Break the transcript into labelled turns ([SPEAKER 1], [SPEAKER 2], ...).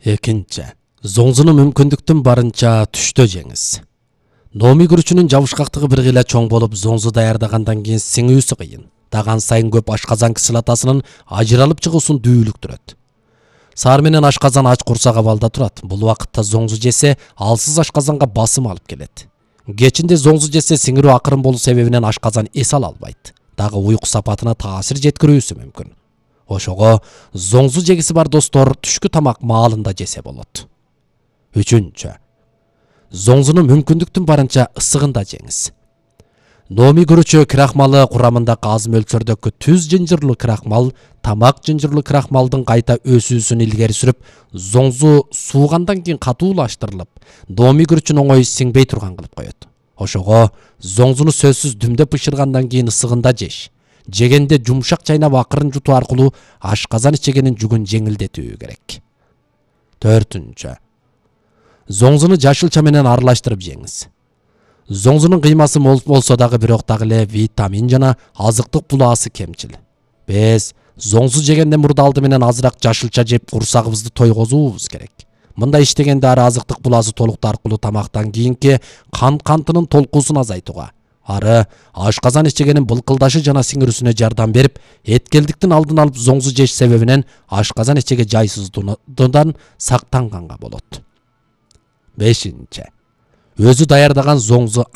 [SPEAKER 1] Экинчи. Зоңзуну мүмкүндүктүн барынча түштө жеңиз. Номи күрүчүнүн жабышкактыгы бир гыйла чоң болуп, зоңзу даярдагандан кийин сиңүүсү кыйын. Даган сайын көп ашказан кислотасынын ажыралып чыгуусун дүүлүктүрөт. Саар менен ашказан ач курсак абалда турат. Бул убакытта зоңзу жесе, алсыз ашказанга басым алып келет. Кечинде зоңзу жесе сиңирүү акырын болуу себебинен ашказан эс ала албайт. Дагы уйку сапатына таасир жеткирүүсү мүмкүн. Ошого зоңзу жегиси бар достор түшкү тамак маалында жесе болот. Үчүнчү. Зоңзуну мүмкүндүктүн барынча ысыгында жеңиз. Номи күрүчү крахмалы курамындагы аз мөлчөрдөгү түз жынжырлуу крахмал тамак жынжырлуу крахмалдын кайта өсүүсүн илгери сүрүп, зоңзу суугандан кийин катуулаштырылып, номи күрүчүн оңой сиңбей турган кылып коет. Ошого зоңзуну сөзсүз дүмдөп бышыргандан кийин ысыгында жеш. Жегенде жумшак чайнап акырын жутуу аркылуу ашказан ичегенин жүгүн жеңилдетүү керек. Төртүнчү. Зоңзуну жашылча менен аралаштырып жеңиз. Зоңзунун кыймасы мол болсо дагы бирок дагы эле витамин жана азыктык булаасы кемчил. Биз зоңзу жегенден мурда алды менен азыраак жашылча жеп курсагыбызды тойгозуубуз керек. Мындай иштегенде ары азыктык булаасы толуктуу аркылуу тамактан кийинки кантынын толкуусун азайтууга, ары ашказан ичегенин былкылдашы жана сиңирүүсүнө жардам берип, эткелдиктин алдын алып зоңзу жеш себебинен ашказан ичеге жайсыздуудан сактанганга болот. Бешинчи. Өзү даярдаган зоңзу